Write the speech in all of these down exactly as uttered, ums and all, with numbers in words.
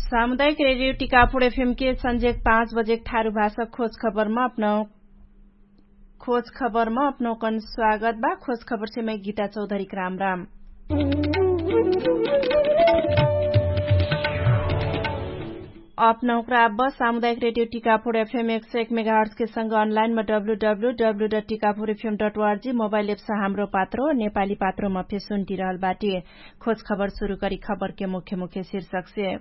सामुदायिक रेडियो टिकापुर एफएम के संजेक पाँच बजेक ठारु भाषा खोज खबरमा अपनौ खोज खबरमा अपनौ कन स्वागत बा। खोज खबर से मै गीता चौधरी क्राम राम। अपनौ क्राब सामुदायिक रेडियो टिकापुर एफएम एक सौ एक मेगाहर्ट्स के संग अनलाइन मा W W W dot Tikapur FM dot ORG mobile apps Hamro Patro नेपाली पात्रोमा फेसुन्टी रहल बाटी। खोज खबर सुरु करी खबर के मुख्य मुख्य शीर्षक से।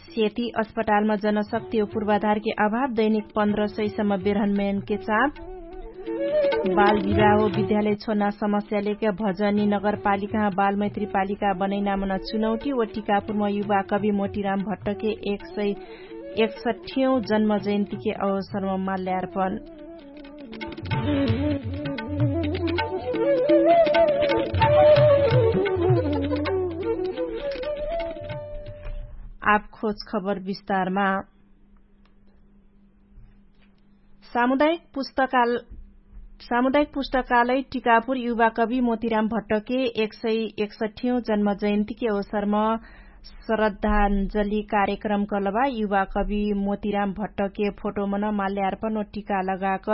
सेती अस्पतालमा जनशक्ति हो पूर्वाधारके अभाव दैनिक पन्ध्र सय सम्म बेरहनमयनके चाप। बाल विवाह हो विद्यालय छोना समस्यालेके भजनी नगरपालिकामा बालमैत्री पालिका बनैनामन चुनौटी हो टिकापुरमा युवा कवि मोतिराम भट्टके एक सय एकसठ्यौं जन्म जयन्तीके अवसरमा माल्यार्पण। आप खोज खबर विस्तारमा। सामुदायिक पुस्तकाल सामुदायिक पुस्तकालय टिकापुर युवा कवि मोतिराम भट्टके एक सय एकसठ्यौं जन्म जयन्तीके अवसरमा श्रद्धाञ्जली कार्यक्रम कलबा। युवा कवि मोतिराम भट्टके फोटोमन माल्यार्पण टिका लगाक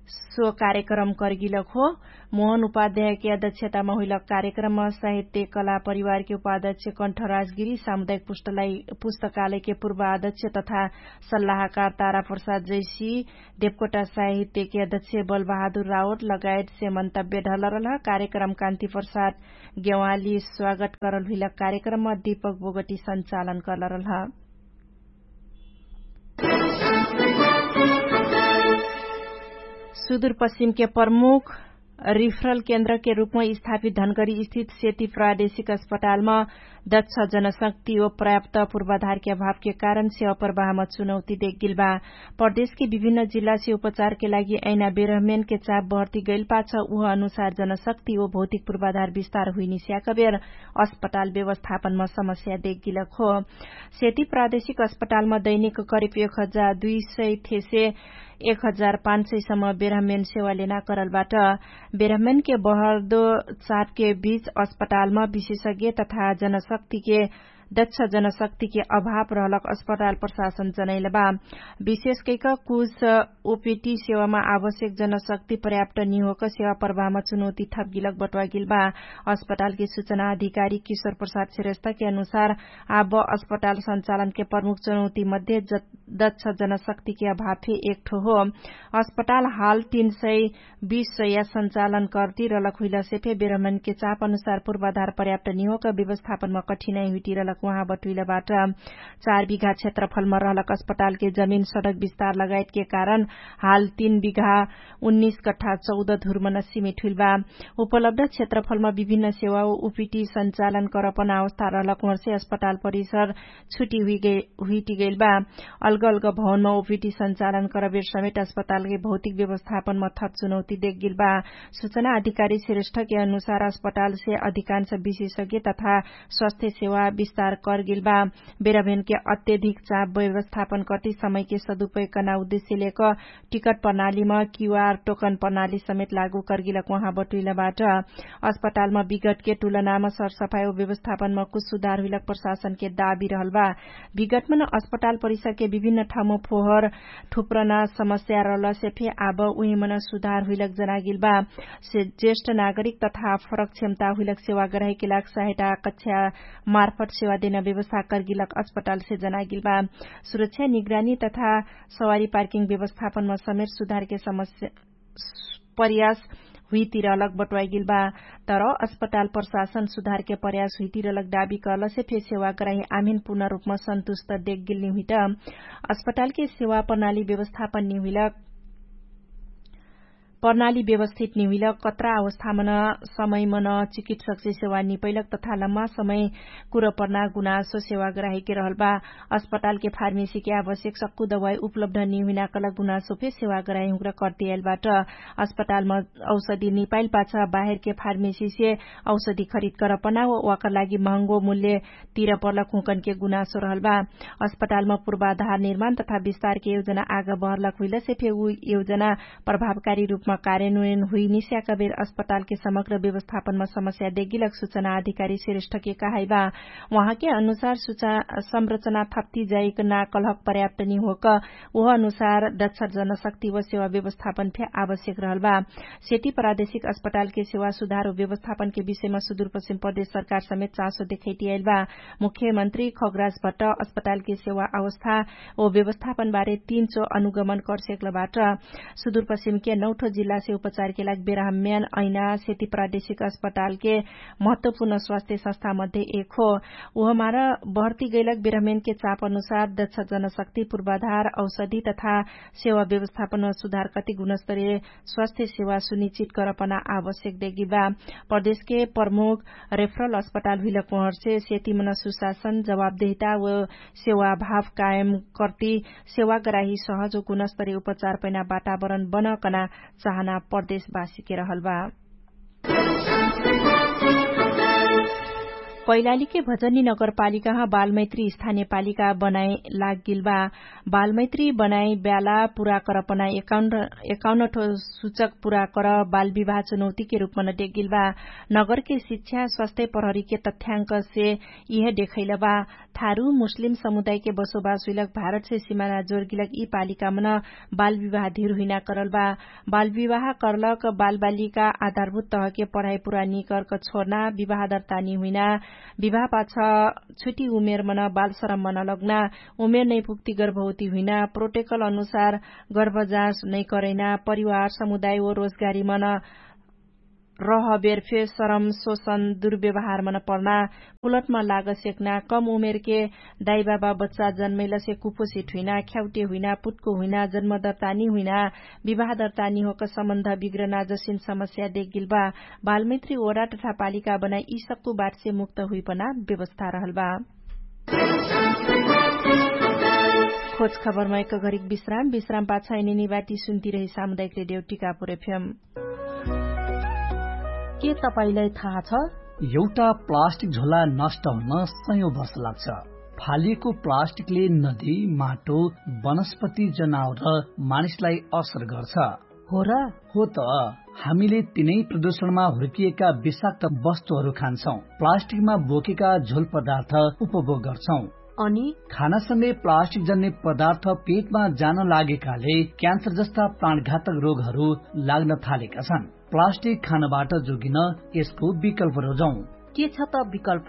सो कार्यक्रम कर्गिलक हो। मोहन उपाध्यायके अध्यक्षतामा हुइलक कार्यक्रममा साहित्य कला परिवारके उपाध्यक्ष कण्ठराजगिरी सामुदायिक पुस्तकालयके पूर्वाध्यक्ष तथा सल्लाहकार ताराप्रसाद जैसी देवकोटा साहित्यके अध्यक्ष बलबहादुर रावत लगायतसे मन्तव्य ढलरलह। कार्यक्रम कान्तिप्रसाद गेवाली स्वागत करल हुइलक कार्यक्रममा दीपक बोगटी सञ्चालन करलरलह। सुदूरपश्चिमके प्रमुख रिफरल केन्द्रके रूपमा स्थापित धनगढी स्थित सेती प्रादेशिक अस्पतालमा दक्ष जनशक्ति ओ पर्याप्त पूर्वाधारके अभावके कारण सेवा प्रवाहमा चुनौती देखगिल बा। प्रदेशके विभिन्न जिल्लासे उपचारके लागि ऐना बेरहमेनके चाप बहर्ती गैल पाछ उह अनुसार जनशक्ति ओ भौतिक पूर्वाधार विस्तार हुइनिस्याकबेर अस्पताल व्यवस्थापनमा समस्या देखगिलक हो। सेती प्रादेशिक अस्पतालमा दैनिक करिब एक हजार दुई सय थेसे एक हजार पाँच सय सम्म बेरहमेन सेवा लेना करलबाट। बेरहमेनके बहर्दो चापके बीच अस्पतालमा विशेषज्ञ तथा जनशक्तिके दक्ष जनशक्तिके अभाव रहलक अस्पताल प्रशासन जनैलबा। विशेषकैक कुछ ओपिटी सेवामा आवश्यक जनशक्ति पर्याप्त निहोक सेवा प्रवाहमा चुनौती थपगिलक बटवागिलबा। अस्पतालके सुचना अधिकारी किशोर प्रसाद श्रेष्ठके अनुसार आब अस्पताल सञ्चालनके प्रमुख चुनौती मध्ये दक्ष जनशक्तिके अभाव फे एकठो हो। अस्पताल हाल तीन सय बीस सय या सञ्चालन कर्ती रलक हुइलसे फे बेरहमेनके चाप अनुसार पूर्वाधार पर्याप्त निहोक व्यवस्थापनमा कठिनाइ हुइटी रलक उहाँ बटुइलबाट। चार बिघा क्षेत्रफलमा रहलक अस्पतालके जमिन सडक विस्तार लगायतके कारण हाल तीन बिघा उन्नीस कठा चौध धुर्मन सिमिट हुइलबा। उपलब्ध क्षेत्रफलमा विभिन्न सेवा उपीटी सञ्चालन करपन अवस्था रहलक उहाँसे अस्पताल परिसर छुटी हुइटिगैलबा। अलग अलग भवनमा ओपिटी सञ्चालन करबेर समेट अस्पतालके भौतिक व्यवस्थापनमा थप चुनौती देखगिलबा। सुचना अधिकारी श्रेष्ठके अनुसार अस्पतालसे अधिकांश विशेषज्ञ तथा स्वास्थ्य सेवा विस्तार करगिलबा। बेरभेनके अत्यधिक चाप व्यवस्थापन कति समयके सदुपयोगकना उद्देश्यलेक टिकट प्रणालीमा क्यूआर टोकन प्रणाली समेत लागू करगिलक उहाँ बटुइलबाट। अस्पतालमा विगतके तुलनामा सरसफाई व्यवस्थापनमा कुछ सुधार हुइलक प्रशासनके दाबी रहलबा। विगतमन अस्पताल परिसरके विभिन्न ठाउँमा फोहर ठुप्रना समस्या रहलसे फे आब उहिमन सुधार हुइलक जनागिलबा। ज्येष्ठ नागरिक तथा फरक क्षमता हुइलक सेवा गराहिके लाग सहायता कक्षा मार्फत सेवा देना व्यवस्था करगिलक अस्पतालसे जनागिलबा। सुरक्षा निगरानी तथा सवारी पार्किङ व्यवस्थापनमा समेत सुधारके समस्या प्रयास हुइतिर अलग बटवाइगिल बा। तर अस्पताल प्रशासन सुधारके प्रयास हुइतिर अलग दाबी करलसे फे सेवा कराही आमिन पूर्ण रूपमा सन्तुष्ट देखगिल निहुइट। अस्पतालके सेवा प्रणाली व्यवस्थापन निहुइलक प्रणाली व्यवस्थित निहुइलक कत्रा अवस्थामन समयमन चिकित्सकसे सेवा निपैलक तथा लम्मा समय कुरपर्ना गुनासो सेवा गराहिके रहल बा। अस्पतालके फार्मेसीके आवश्यक सक्कु दवाई उपलब्ध निहुइनाकलक गुनासो फे सेवा गराहिहुँक्र कर्तियाइल बाट। अस्पतालम औषधि निपाइल पाछ बाहेरके फार्मेसीसे औषधि खरिद करपना वाकर लागि महँगो मूल्य तिर पर्लक हुँकनके गुनासो रहल बा। अस्पतालम पूर्वाधार निर्माण तथा विस्तारके योजना आग बहरलक हुइलसे फे उ योजना प्रभावकारी रूप कार्यनुयन हुइनिस्याका बेर अस्पतालके समग्र व्यवस्थापनमा समस्या देगिलक सुचना अधिकारी श्रेष्ठके कहाइबा। उहाँके अनुसार सुचा संरचना थप्ति जाइक ना कलहक पर्याप्त निहोक उह अनुसार दच्छर जनशक्ति व सेवा व्यवस्थापन फे आवश्यक रहलबा। सेति प्रादेशिक अस्पतालके सेवा सुधार व व्यवस्थापनके विषयमा सुदूरपश्चिम प्रदेश सरकार समेत चासो देखैतियाइलबा। मुख्यमन्त्री खगराज भट्ट अस्पतालके सेवा अवस्था व व्यवस्थापनबारे तीन चो अनुगमन करसेक्लबाट। सुदूरपश्चिमके नौठो जिल्लासे उपचारके लाग बेराहम्यान ऐना सेति प्रादेशिक अस्पतालके महत्वपूर्ण स्वास्थ्य संस्था मध्ये एक हो। उहमार भर्ती गैलक बेराहम्यानके चाप अनुसार दक्ष जनशक्ति पूर्वाधार औषधि तथा सेवा व्यवस्थापन सुधार कति गुणस्तरीय स्वास्थ्य सेवा सुनिश्चित करपना आवश्यक देगिबा। प्रदेशके प्रमुख रेफरल अस्पताल हुइलक उहर्से सेतिमन सुशासन जवाबदेहिता व सेवा भाव कायम कर्ति सेवाग्राही सहज व गुणस्तरीय उपचार पैना वातावरण बनकना चाहना प्रदेशवासीके रहलबा। कैलालीके भजनी नगरपालिकाह बालमैत्री स्थानीय पालिका बनाइ लागगिलबा। बालमैत्री बनाइ ब्याला पुरा करपना एकाउन्नठो सुचक पुरा कर बालविवाह चुनौतीके रूपमन देगिलबा। नगरके शिक्षा स्वास्थ्य प्रहरीके तथ्याङ्कसे इहे देखैलबा। थारु मुस्लिम समुदायके बसोबास हुइलक भारतसे सिमाना जोरगिलक यि पालिकामन बालविवाह धिर हुइना करलबा। बालविवाह करलक बालबालिका आधारभूत तहके पढाइ पुरा निकर्क छोर्ना विवाह दर्तानी हुइना विवाह पाछ छुटी उमेरमन बालश्रममन लग्ना उमेर नैपुक्ति गर्भवती हुइना प्रोटेकल अनुसार गर्भजाँच नैकरैना परिवार समुदाय व रोजगारीमन रहबेर फे सरम सोसन दुर्व्यवहारमन पर्ना पुलटमा लाग सेक्ना कम उमेरके दाइबाबा बच्चा जन्मैलसे कुपोसित हुइना ख्याउटे हुइना पुत्को हुइना जन्मदर्तानी हुइना विवाहदर्तानी होक सम्बन्ध बिग्रना जसिन समस्या देगिलबा। बालमैत्री ओडा तथा पालिका बनाइ इसक्कु बाटसे मुक्त हुइपना व्यवस्था रहलबा। खोज खबरमा एक घरिक विश्राम विश्राम पाछ एनेनी बाटी सुन्ती रही सामुदायिक रेडियो टिकापुर एफएम। के तपाईंलाई थाहा छ? एउटा प्लास्टिक झोला नष्ट हुन सयौं वर्ष लाग्छ। फालिएको प्लास्टिकले नदी, माटो, वनस्पति, जनावर र मानिसलाई असर गर्छ। हो र? हो त। हामीले तिनै प्रदूषणमा हुर्किएका विषाक्त वस्तुहरू खान्छौं, प्लास्टिकमा बोकेका झोल पदार्थ उपभोग गर्छौं। अनि खानासँगै प्लास्टिक जन्ने पदार्थ पेटमा जान लागेकाले क्यान्सर जस्ता प्राणघातक रोगहरू लाग्न थालेका छन्। प्लास्टिक खानबाट जोगिन यसको विकल्प रोजौं। के छ त विकल्प?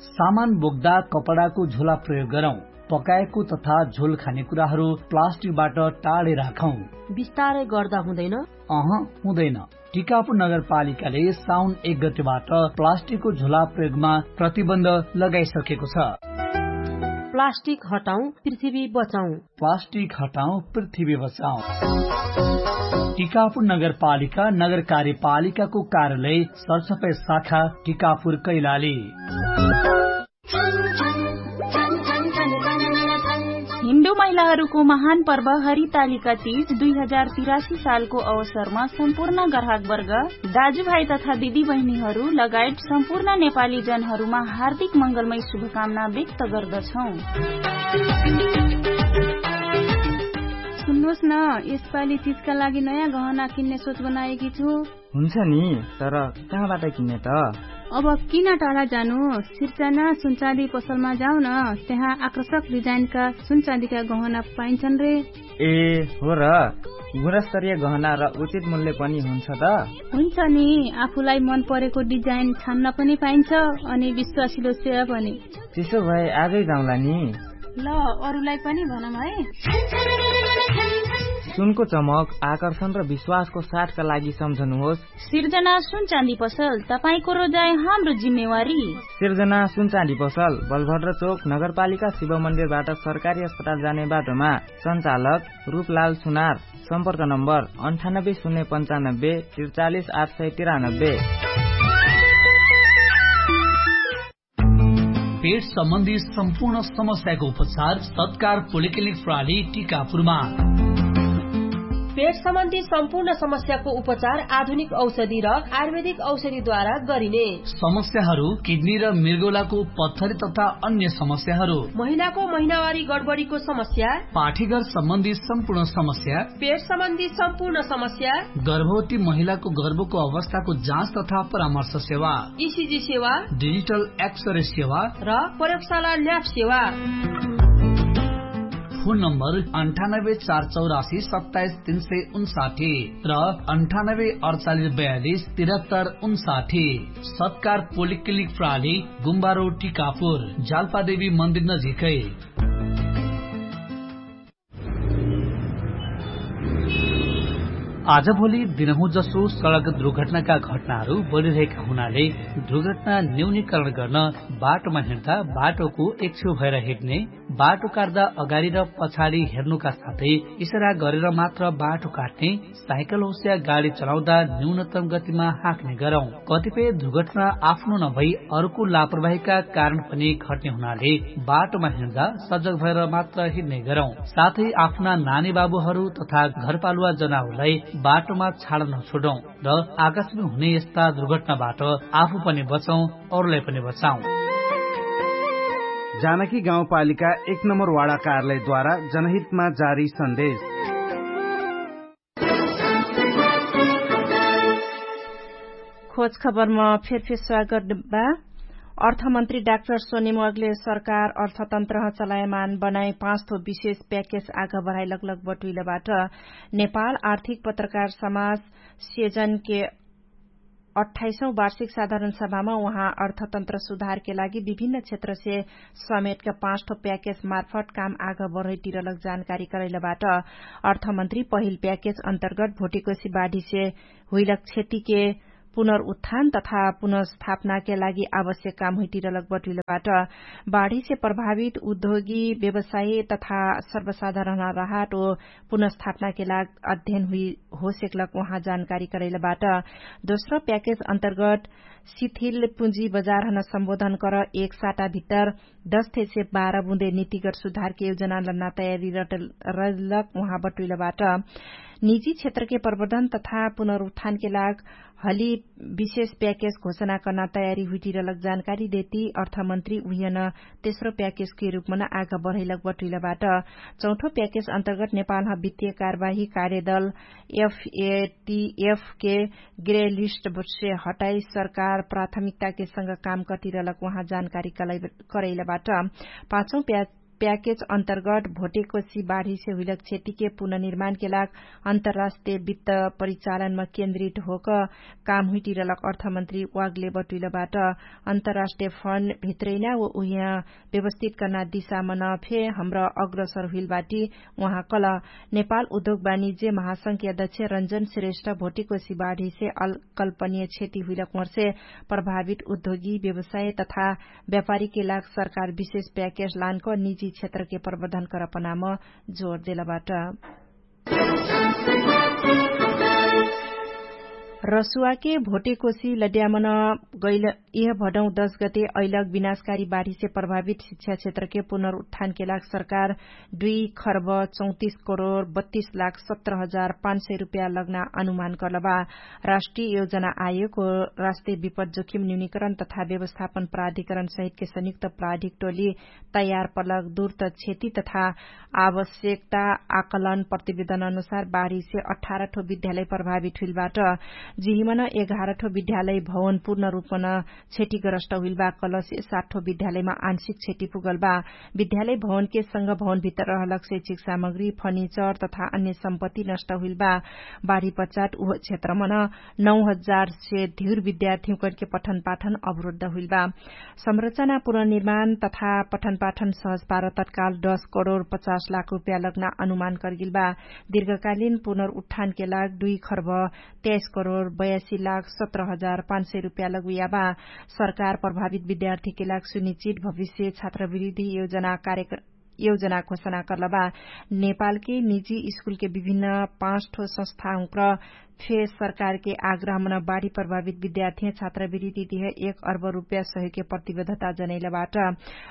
सामान बोक्दा कपडाको झोला प्रयोग गरौं। पकाएको तथा झोल खाने कुराहरू प्लास्टिकबाट टाढे राखौं। बिस्तारै गर्दा हुँदैन? अह, हुँदैन। टिकापुर नगरपालिकाले साउन एक गतेबाट प्लास्टिकको झोला प्रयोगमा प्रतिबन्ध लगाइसकेको छ। प्लास्टिक हटाउँ, पृथ्वी बचाउँ। प्लास्टिक हटाउँ, पृथ्वी बचाउँ। टिकापुर नगरपालिका नगर कार्यपालिकाको कार्यालय सरसफाइ शाखा टिकापुर कैलाली। हिन्दू महिलाहरूको महान पर्व हरितालिका तीज दुई हजार तिरासी सालको अवसरमा सम्पूर्ण ग्राहकवर्ग, दाजुभाइ तथा दिदीबहिनीहरू लगायत सम्पूर्ण नेपाली जनहरूमा हार्दिक मङ्गलमय शुभकामना व्यक्त गर्दछौँ। सुन्नुहोस् न, यसपालि तीजका लागि नयाँ गहना किन्ने सोच बनाएकी छु। हुन्छ नि, तर कहाँबाट किन्ने त? अब किन टाढा जानु? सिर्जना सुनचाँदी पसलमा जाऊ न, त्यहाँ आकर्षक डिजाइनका सुनचाँदीका गहना पाइन्छन् रे। ए, हो र? गुणस्तरीय गहना र उचित मूल्य पनि हुन्छ त? हुन्छ नि, आफूलाई मन परेको डिजाइन छान्न पनि पाइन्छ, अनि विश्वासिलो सेवा पनि। त्यसो भए आजै जाउँला नि। ल, अरूलाई पनि भनौँ है। सुनको चमक, आकर्षण र विश्वासको साथका लागि सम्झनुहोस्। सिर्जना सुनचाँदी पसल, तपाईंको रोजाइ हाम्रो जिम्मेवारी। सिर्जना सुनचाँदी पसल, बलभद्र चोक, नगरपालिका शिव मन्दिरबाट सरकारी अस्पताल जाने बाटोमा। सञ्चालक रूपलाल सुनार। सम्पर्क नम्बर अन्ठानब्बे शून्य पन्चानब्बे त्रिचालिस आठ सय तिरानब्बे। पेट सम्बन्धी सम्पूर्ण समस्याको उपचार सत्कार पोलिक्लिनिक प्रणाली टिकापुरमा। पेट सम्बन्धी सम्पूर्ण समस्याको उपचार आधुनिक औषधि र आयुर्वेदिक औषधिद्वारा गरिने। समस्याहरू किडनी र मृगौलाको पत्थरी तथा अन्य समस्याहरू, महिलाको महिनावारी गडबडीको समस्या, पाठीघर सम्बन्धी सम्पूर्ण समस्या, पेट सम्बन्धी सम्पूर्ण समस्या, गर्भवती महिलाको गर्भको अवस्थाको जाँच तथा परामर्श सेवा, इसिजी सेवा, डिजिटल एक्सरे सेवा र प्रयोगशाला ल्याब सेवा। फोन नम्बर अन्ठानब्बे चार चौरासी सत्ताइस तीन सय उन्साठी र अन्ठानब्बे अडचालिस बयालिस तिरहत्तर उन्साठी। सत्कार पोलिक्लिनिक प्राली, गुम्बारो टिकापुर, जालपादेवी मन्दिर नजिकै। आजभोलि दिनहुँ जसो सडक दुर्घटनाका घटनाहरू बढिरहेका हुनाले दुर्घटना न्यूनीकरण गर्न बाटोमा हिँड्दा बाटोको एकछेउ भएर हिँड्ने, बाटो काट्दा अगाडि र पछाडि हेर्नुका साथै इसारा गरेर मात्र बाटो काट्ने, साइकल होस्या गाडी चलाउँदा न्यूनतम गतिमा हाँक्ने गरौँ। कतिपय दुर्घटना आफ्नो नभई अरूको लापरवाहीका कारण पनि घट्ने हुनाले बाटोमा हिँड्दा सजग भएर मात्र हिँड्ने गरौँ। साथै आफ्ना नानी बाबुहरू तथा घरपालुवा जनावरलाई बाटोमा छाड नछोडौँ र आकाशमा हुने यस्ता दुर्घटनाबाट आफू पनि बचौँ, अरूलाई पनि बचाउँ। जानकी गाउँपालिका एक नम्बर वाडा कार्यालयद्वारा जनहितमा जारी सन्देश। खोज खबरमा फेरफेर स्वागत बा। अर्थमन्त्री डाक्टर सोनिम अग्ले सरकार अर्थतन्त्रह चलायमान बनाए पाँच थो विशेष प्याकेज आग बढाइ लगलग बटुइलबाट नेपाल आर्थिक पत्रकार समाज सेजनके अट्ठाइसौँ वार्षिक साधारण सभामा उहाँ अर्थतन्त्र सुधारके लागि विभिन्न क्षेत्रसे समेटका पाँच ठो प्याकेज मार्फत काम आग बढैतिरलक जानकारी करैलबाट। अर्थमन्त्री पहिल प्याकेज अन्तर्गत भोटिकोसी बाढीसे हुइलक क्षतिके पुनरुत्थान तथा पुनर्स्थापनाके लागि आवश्यक काम हुइतिरलक बटुइलबाट। बाढीसे प्रभावित उद्योगी व्यवसायी तथा सर्वसाधारण राहत ओ पुनर्स्थापनाके लाग अध्ययन हुइ होसेकलक उहाँ जानकारी करैलबाट। दोस्रो प्याकेज अन्तर्गत शिथिल पुँजी बजारहन सम्बोधन कर एक साटा भित्तर दस थेसे बाह्र बुँदे नीतिगत सुधारके योजना लन्ना तयारी रटल रलक उहाँ बटुइलबाट। निजी क्षेत्रके प्रवर्धन तथा पुनरुत्थानके लाग हली विशेष प्याकेज घोषणा कर्ना तयारी हुइटिरलक जानकारी देती अर्थमन्त्री उहियन तेस्रो प्याकेजके रूपमन आग बढैलक बटुइलबाट। चौथो प्याकेज अन्तर्गत नेपालह वित्तीय कारवाही कार्यदल एफएटिएफके ग्रे लिस्ट बट्से हटाई सरकार प्राथमिकताके संग काम कटिरलक उहाँ जानकारी करैलबाट। पाँचौँ प्याकेज अन्तर्गत भोटेकोसी बाढीसे हुइलक क्षतिके पुनर्निर्माणके लाग अन्तर्राष्ट्रिय वित्त परिचालनमा केन्द्रित होक काम हुइटिरलक अर्थमन्त्री वागले बटुइलबाट। अन्तर्राष्ट्रिय फन्ड भित्रैना व उहिया व्यवस्थित कर्ना दिशामन फे हमरा अग्रसर हुइलबाटी। उहाँ कल नेपाल उद्योग वाणिज्य महासंघके अध्यक्ष रन्जन श्रेष्ठ भोटिकोसी बाढीसे अल्कल्पनीय क्षति हुइलक मर्से प्रभावित उद्योगी व्यवसाय तथा व्यापारीके लाग सरकार विशेष प्याकेज लानक निजी क्षेत्रके प्रवर्धन करपनाम जोर देलबाट। रसुवाके भोटेकोसी लड्यामन गैल इह भडौँ दश गते अइलक विनाशकारी बाढीसे प्रभावित शिक्षा क्षेत्रके पुनरुत्थानके लाग सरकार दुई खर्ब चौतिस करोड बत्तिस लाख सत्र हजार पाँच सय रुपया लग्ना अनुमान कर्लबा। राष्ट्रिय योजना आयोगको राष्ट्रिय विपद जोखिम न्यूनिकरण तथा व्यवस्थापन प्राधिकरण सहितके संयुक्त प्राधिक टोली तयार पलक दुर्त क्षति तथा आवश्यकता आकलन प्रतिवेदन अनुसार बाढीसे अठार ठो विद्यालय प्रभावित हुइलबाट। जिहिमन एघार ठो विद्यालय भवन पूर्ण रूपमन क्षतिग्रस्त हुइलबा कलसे सात ठो विद्यालयमा आंशिक क्षति पुगलबा। विद्यालय भवनके संग भवनभित्र रहलक शैक्षिक सामग्री फर्निचर तथा अन्य सम्पत्ति नष्ट हुइलबा। बाढीपचाट उह क्षेत्रमन नौ हजार से धिउर विद्यार्थीहुँकरके पठनपाठन अवरुद्ध हुइलबा। संरचना पुनर्निर्माण तथा पठनपाठन सहज पार तत्काल दश करोड पचास लाख रुपया लग्ना अनुमान कर्गिलबा। दीर्घकालीन पुनर्उत्थानके लाग दुई खर्ब त्याइस करोड बयासी लाख सत्र हजार पाँच सय रुपया लग्वियाबा। सरकार प्रभावित विद्यार्थीके लाग सुनिश्चित भविष्य छात्रवृद्धि योजना कार्यक्रम योजना घोषणा कर्लबा। नेपालके निजी स्कुलके विभिन्न पाँच ठो संस्था हुँक्र फे सरकारके आग्रहमन बाढी प्रभावित विद्यार्थी छात्रवृत्ति दिहे एक अर्ब रुप्या सहयोगके प्रतिबद्धता जनैलबाट।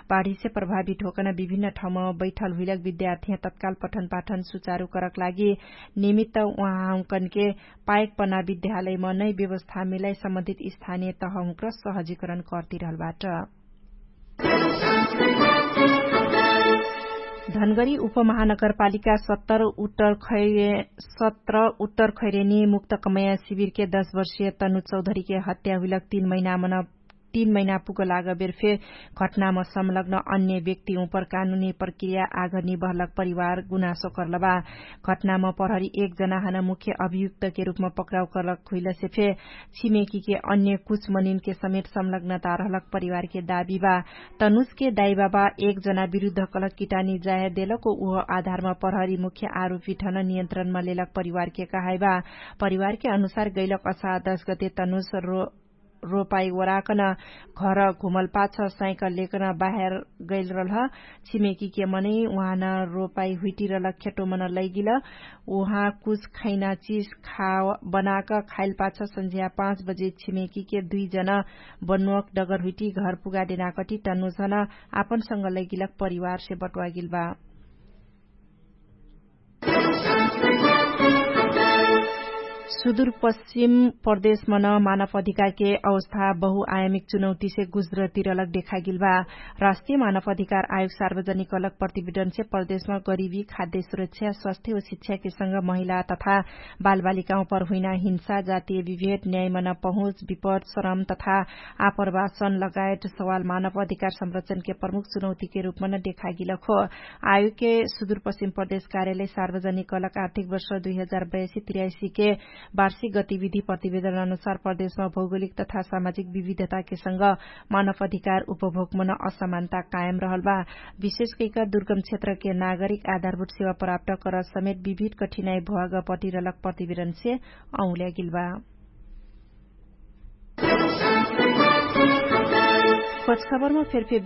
बाढीसे प्रभावित होकन विभिन्न ठाउँम बैठल हुइलक विद्यार्थी तत्काल पठनपाठन सुचारु करक लागि निमित्त उहाँहुँकनके पायक पना विद्यालयम नै व्यवस्था मिलाइ सम्बन्धित स्थानीय तहहुँक्र सहजीकरण कर्तिरहलबाट। धनगरी उपमहानगरपालिका सत्तर उत्तर खैरे सत्र उत्तर खैरेनी मुक्त कमया शिविरके दश वर्षीय तनु चौधरीके हत्या हुइलक तीन महिनामन तीन महिना पुगलाग बेरफे घटनाम संलग्न अन्य व्यक्ति उपर कानुनी प्रक्रिया आघनी बहलक परिवार गुनासो कर्लबा। घटनाम प्रहरी एक जना हन मुख्य अभियुक्तके रूपम पक्राउ कर्लक हुइलसे फे छिमेकीके अन्य कुछ मनिनके समेट संलग्नता रहलक परिवारके दाबी बा। तनुजके दाइबाबा एक जना विरुद्ध कलक किटानी जाहे देलक उह आधारमा प्रहरी मुख्य आरोपी ठन नियन्त्रणमा लेलक परिवारके कहाइबा। परिवारके अनुसार गैलक असार दश गते तनुज रोपाई ओराकन घर घुमल पाछ साइकल लेकन बाहेर गैल रहलह। छिमेकीके मनै उहाँ न रोपाई हुइटिरलक खेटोमन लैगिल। उहाँ कुछ खैना चिज खा बनाक खाइल पाछ सन्झ्या पाँच बजे छिमेकीके दुइ जन बन्नुवक डगर हुइटि घर पुगाडेनाकटि तन्नुझन आपनसँग लैगिलक परिवारसे बटुवागिल बा। सुदुरपश्चिम प्रदेशमन मानव अधिकारके अवस्था बहुआयामिक चुनौतीसे गुज्रतिरलक देखागिल बा। राष्ट्रिय मानव अधिकार आयोग सार्वजनिक अलक प्रतिवेदनसे प्रदेशमा गरिबी खाद्य सुरक्षा स्वास्थ्य व शिक्षाके संग महिला तथा बालबालिकामा पर हुइना हिंसा जातीय विभेद न्यायमन पहुँच विपद श्रम तथा आप्रवासन लगायत सवाल मानव अधिकार संरक्षणके प्रमुख चुनौतीके रूपमन देखागिलक हो। आयोगके सुदुरपश्चिम प्रदेश कार्यालय सार्वजनिक कलक आर्थिक वर्ष दुई हजार बयासी तिराइसीके वार्षिक गतिविधि प्रतिवेदन अनुसार प्रदेशमा भौगोलिक तथा सामाजिक विविधताके संग मानव अधिकार उपभोगमन असमानता कायम रहल बा। विशेष कैक दुर्गम क्षेत्रके नागरिक आधारभूत सेवा प्राप्त करत समेत विविध कठिनाइ भोग पटिरलक प्रतिवेदनसे औल्यागिल बा। खोजखबरमा फेरफे